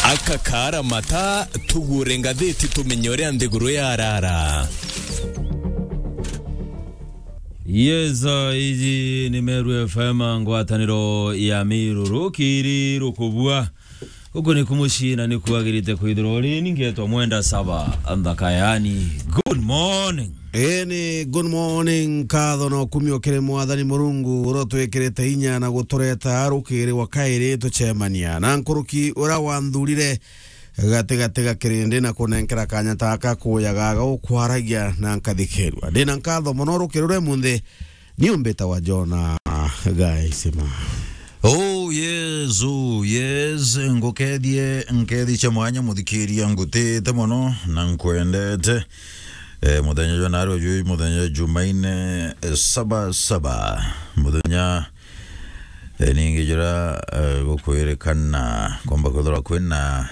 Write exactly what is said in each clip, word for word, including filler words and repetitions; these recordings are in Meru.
Aka kaara mata, tugure ngathiti tumenye uria nthiguru yarara. Yes, uh, iji ni Meru F M, ngwataniro ya Miru, rukiri rukubua. Guku ni kumucii na ni kwagirite kwithirwa uri, ni ngetwa Mwenda Saba, nthaka yani. Good morning. Ii ni good morning, nkatho na ukumio kiri Mwathani Murungu, uria utwikirite inya na gutureta rukiri wa kairi tucemania na nkuruki uria wanthurire gatigati ga kirindi na kunenkera kanya taka kuyaga gukwaragia na nkathikirua. Ndina nkatho mono rukiri ruria munthi ni umbita wa Jona Gaisima. Oh, yes, oh, yes. Ngukethie, nkethi cia mwanya muthikiria, ngutite mono na nkwendete. Eh, muthenya jwa narua jwi muthenya Jumaine, eh, saba saba. Muthenya, eh, ningi jura, eh, gukwirikana, kwamba kwithirwa kwina,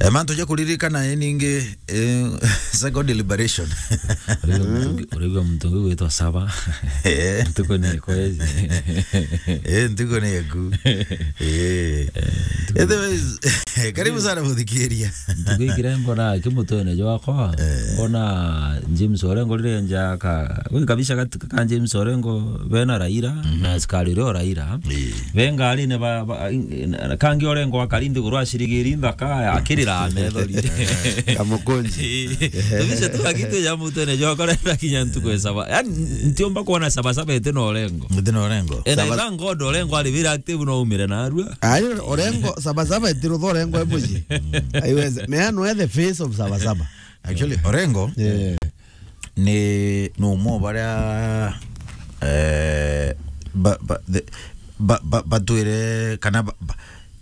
eh, mantu ja kuririkana, eh, ningi, eh, second deliberation. Uraigua muntu ungi, uraigua muntu ungi gwitwa Saba. Eh. Ntuku ni kwezi. Eh, ntuku ni eku. Eh. Otherwise, karibu sana muthikiria. Ntuku ikire mbona kimutwene jwakwa. Eh. Mbona James Orengo rire nja ka, we kabisa kat-, ka James Orengo bena Raila, na askari rio Raila. Eh. Be ngarine ba, ba, in-, in-, kangi Orengo akari nthiguru acirigiri nthaka, akirira methori. Kamukunji. Eh. Kabisa tu akitwe ja mutwene jwakwa renda kinya ntuku e Saba. Yani, ntiumba kuona Saba Saba iti na Orengo. Iti na Orengo. Ena Saba- thank God Orengo ari very active no umire narua. Ayo, Orengo, Saba Saba iti rutho Orengo e muji. Aiweze. Me ano the face of Saba Saba. Actually, Orengo, yeah, ni, ni umwe wa baria, eh, ba, ba, the, ba, ba, batwire kana ba, ba,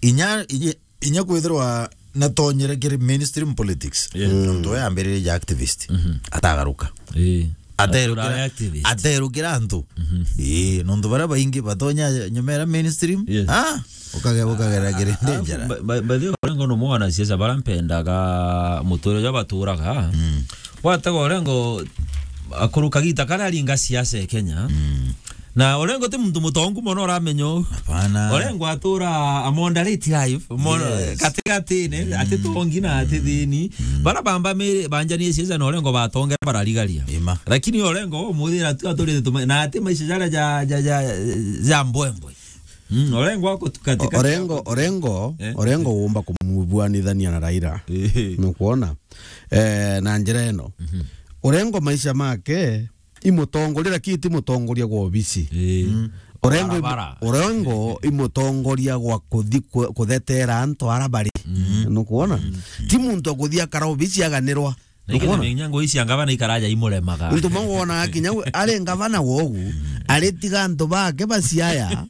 inya, inya, inya kwithirwa natonyere kiri mainstream politics. Yeah. Mm. Nontu we ambiririe ja activist. Mhm. Atagaruka. Eh. Aterukira, aturaga activist, aterukira antu. Mhm. Ii, nontu baria baingi batonya nyuma ya mainstream. Yes. Ah, ukage-, ukagera kiri danger. By, by, by the way, Orengo no mwana siasa bara mpendaga muture ja baturaga. Mm. Watega Orengo akuru kagita karia aringa siasa e Kenya. Mm. Na Orengo ti muntu mutongu mono uramenya uu. Hapana. Orengo atura a moderate life, mo-, yes, katigatine, mm, ati tongi na ati thini. Mm. Bara bamba miri banjanie siasa na Orengo batongera bararigaria. Ima. Lakini Orengo umuthira tu aturite tuma-, na ati maisha jaria ja, ja, ja, ja mbwembwe. Mm, Orengo ako tu katika Orengo, Orengo, eh, Orengo wumba kumubuanithania na Raila. Eh. Nukwona? Eh, na njira ino. Mhm. Orengo maisha make imutongoria, lakini ti mutongoria gwa obisi. Ii. Mm. Orengo imu-, barabara. Orengo imutongoria gwa kuthi ku-, kuthetera antu ara bari. Mm. Nukwona? Mm. Ti muntu akuthi akara obisi aganirwa. Na ikenda. Nukwona? Menya ngo ici anga bana ikaraja imuremaga. Ntu mwangu wona kinya we, ari ngavana wogu, ari tiga antu bake ba Siaya,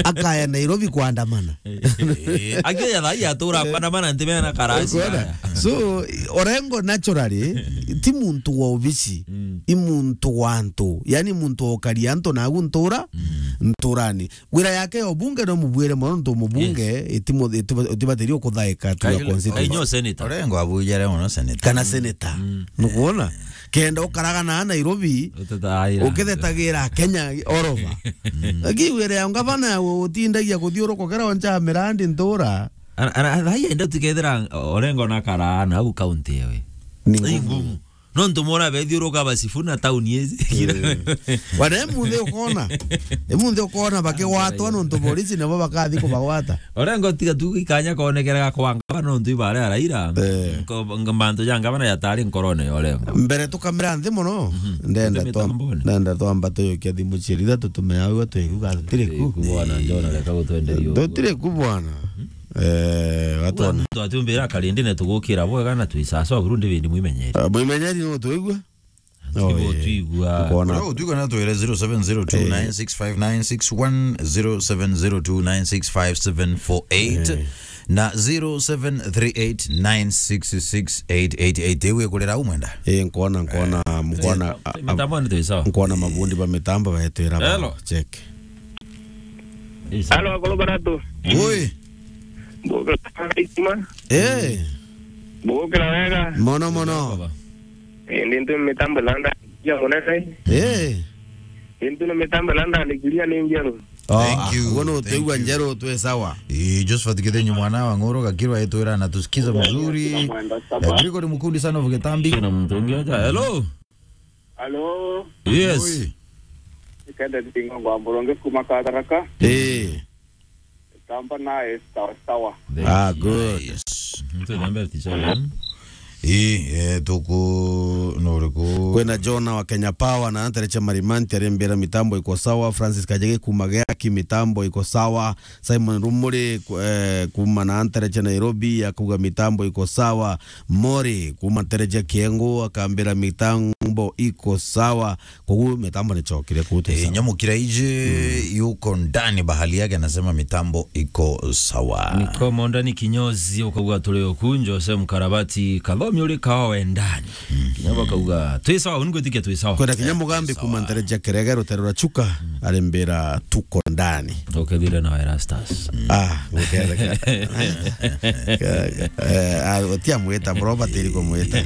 akaya Nairobi kuandamana. Eh, eh, eh. Akioya thai atura kuandamana nti mena karasi. Ukwona? Aya. So, Orengo naturally, ti muntu wa obisi, mm, i muntu wa antu. Yani muntu wa ukaria antu nagu ntura, mm, nturani. Wira yake ya ubunge no mubwire mono ntu mubunge, yes, itimu-, itiba-, itibatirio kuthaika tu ya constituency. Inyo senator. Orengo abujere mono senator. Kana senator. Mm. Nukwona? Kenda ukaraga na Nairobi, utetagira, ukithetagira Kenya all over. Mm. Lakini wira ya ngavana ya utindagia kuthiuruka ukira oncha mirandi ntura. Ana, ana, thai enda tukethira Orengo na karana au county ewe. Ni ngumu. Ni ngumu. Nontu mona bethiuruka ba Sifuna town ici. Eh. Wana emunthe ukona. Emunthe ukona bakigwatwa nontu polisi nabo bakathi kubagwata. Orengo tiga tu ikanya konekeraga kwa ngavana nontu ibare araira. Eh. Nko-, ng-, mantu ja ngavana yatari nkorone ya Orengo. Mbere tukamira nthi mono. Mhm. Ndenda twa-, mitambone. Ndenda twamba tuyukia thimu cieri ithatu tumeaua twiguga tutiri ku. Ku bwana, njona reka gutwenderia uguo. Tutiri ku bwana. Mhm. Eh, watu wana. Muntu atumbira karindi ne tugukira bwega na twisasa buru ndi bindi mwimenyeri. Ah, mwimenyeri no twigua? Tukibo twigua. Ukona. Ura utwigua na twere zero seven zero two nine six five nine six one, zero seven zero two nine six five seven four eight, eh, na zero seven three eight nine six six eight eight eight. Ewe kurera umwenda. Eh, nkona, nkona, eh, mkona, eh, a-, a-, mitambo ni twisawa. Nkona mabundi ba mitambo baetwira ba. Hello. Check. Halo, akoro baratu. Oi. Mbugukira wega itima. Eh. Mbugukira wega. Mono, mono. Eh, ndi ntu mitambo landa ya munene. Eh. Ndi ntu ni mitambo landa ndikiria ni njeru. Oh, thank you, ugo no thank utegwa you. Njeru twe sawa. Eh, Josephat Kithenyu mwana wa Ng'oro Gakirwa etwira na tusikiza mzuri. Eh, Gregory Mukundi sana vuge tambi. Na mtu mwingine aja. Hello. Hello. Yes. Oi. Ikende tingo ngwa mboronge kuma Kadaraka. Eh. Tamba naye sawa sawa. Ah, good. Mtu namba ticha. Ii, eh, tuku, nuriku? Kwina Jona wa Kenya Power na antereche Marimanti arimbira mitambo iko sawa. Francis Kajege kuma Geaki, mitambo iko sawa. Simon Rumuri, ku-, eh, kuma na antereche Nairobi, akuga mitambo iko sawa. Mori kuma ntereche Kiengo akambira mitambo iko sawa. Koguo mitambo ni chokire kute. Eh, sawa. Nyamukira ije yuko ndani bahali yake, anasema mitambo iko sawa. Niko mondani kinyozi ukauga turi oku, Jose Mkarabati, Kathomi uri kawa wendani. Kinya bakauga, "Twi sawa, uni gwitikia twi sawa." Kwenda kinya Mugambi kuma ntereche Kerege, rutere rwa Chuka, arimbira tuko ndani. Ukethire na Erastus. Ah, nguketheka. Eh, ah, utia mwita, bro, batiri kumwita.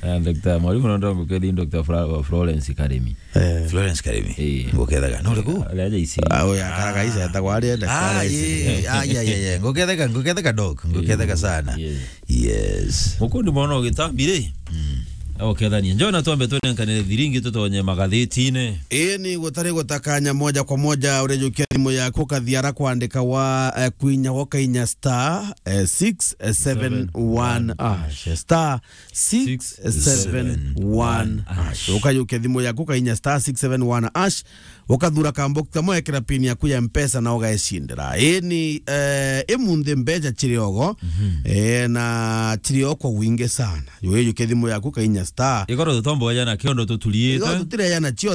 Ah, Doctor Mwalimu, no ndo ngukethire Doctor Fra-, Florence Karimi. Eh. Florence Karimi. Eh. Nguketheka. No, riku? Ari aja isi. Ah, oya, karaga isi, etagwa ari enda, ah, karaga isi. Ye, ye, ah, ye, ye, ye. Nguketheka, nguketheka, doc. Nguketheka sana. Yes. Yes. Mukundi mwana ugitambi ri? Mm. Ukethania. Njona twambe tunenkanire thiringi tutonye magathitine. Ii ni gutari gutakanya moja kwa moja urejukia thimu yaku ukathiara kwandika wa, eh, kwinya gwa kainya star, eh, six seven one hash. Star six seven one hash. Ukajukia thimu yaku ukainya star six seven one hash. Ukathura kambox kamwe, ekira pin yaku ya Mpesa na ugaecindira. Ii ni, eh, imunthi mbeca ciri ogo, eh, na ciri o kwa wingi sana. Ujukia thimu yaku ukainya star. Igoro tutomboja na kiondo tuturiite. Igoro tutireja na cio